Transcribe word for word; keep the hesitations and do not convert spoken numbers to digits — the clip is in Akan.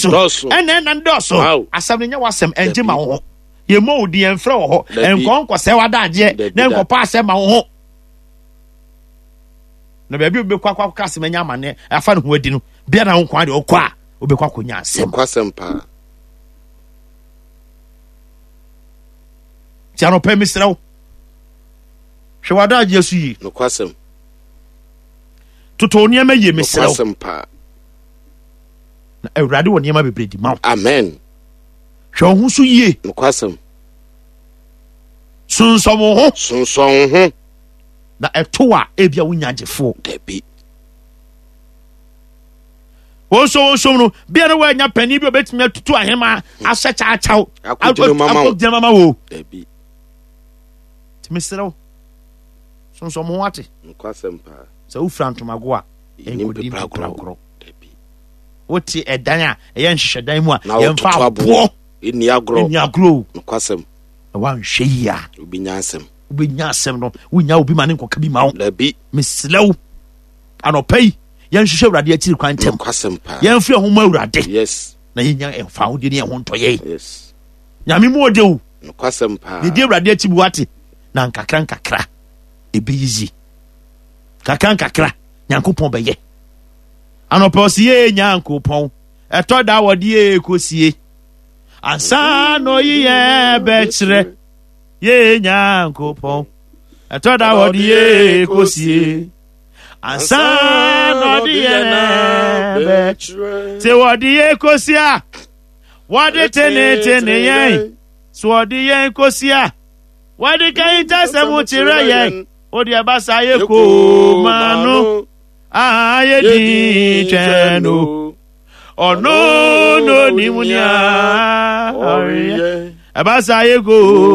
Dɔɔso. Ɛna ɛna dɔɔso. Wow. Asɛm no nyɛ w'asɛm, ɛngye ma Dabi. wo ho. Yɛmmɔ wo din, ɛmfrɛ wɔ hɔ. Dabi. Ɛnkɔ nkɔsɛe w'adagyeɛ Dabi na da. nkɔpa asɛm ma wo ho. Na baabi a wobɛkɔ akɔ akɔka asɛm anya amanneɛ afa ne ho adi no, bia na wo nkoa deɛ ɔkɔ a wobɛkɔ akɔnya asɛm. Nokwasɛm paa. Nti anɔpɛ mesrɛ wo, hwɛ w'adagyeɛ so yie. Nokwasɛm. Toto wo nneɛma yie, mesrɛ wo. Nokwasɛm paa. Na Awurade wɔ nneɛma bebree di ma wo. Amen. Hwɛ wo ho so yie. Nokwasɛm. Sonsɔn wo ho. Sonsɔn wo ho. Na ɛto a ebia wonya agyefoɔ. Dabi. Wɔnso wɔnso no bia no wɔanya panin bi a obetumi atutu ahema ahyɛ kyaakyaw Akɔgyina mu ama wo. akɔgyina mu ama wo. Dabi. Nti mesrɛ wo, sonsɔn wo ho ate. Nokwasɛm paa. Sɛ wofira ntomago a, Yɛnni ɛnkɔdi mpepra mpepra agorɔ. korɔ. Dabi. Wote ɛdan a ɛyɛ nhyehyɛdan mu a, Na yɛmfa wototo aboɔ aboɔ. Ɛnni agorɔ. ɛnni agorɔ o. Nokwasɛm. Na woanhwɛ yie a, Wobɛnya asɛm. wobɛnya asɛm no, wonya obi ma ne nkɔka bi ma wo. Dabi. Mesrɛ wo, anɔpa yi, yɛnhwehwɛ Awurade akyiri kwan ntɛm. Nokwasɛm paa. Yɛmfiri ɛho ma Awurade. Yes. Na yɛnya ɛfa ahodeɛ ne ɛho ntɔyɛ. Yes. Nyame mu ɔde wo. Nokwasɛm paa. Yɛdi Awurade akyi bu ate. Na nkakra nkakra ɛbɛyiyi. Kakra nkakra Nyankopɔn bɛyɛ. Anɔpa ɔsi yɛ Nyankopɔn. Ɛtɔ da wɔde yɛ kɔsie. Ansa na ɔyi yɛ bɛkyerɛ. Yɛ Nyankopɔn. Ɛtɔ da wɔde yɛ kɔsie. Ansa na ɔde yɛ bɛkyerɛ. Sɛ wɔde yɛ kɔsie a, wɔde tenetene yɛn. So wɔde yɛn kɔsie a, wɔde kan ntasɛm kyerɛ yɛn. Wode ɛba saa yɛ koma no a yɛdi twɛn no. Ɔno no nim nea ɔreyɛ. Ɛba saa yɛ koo.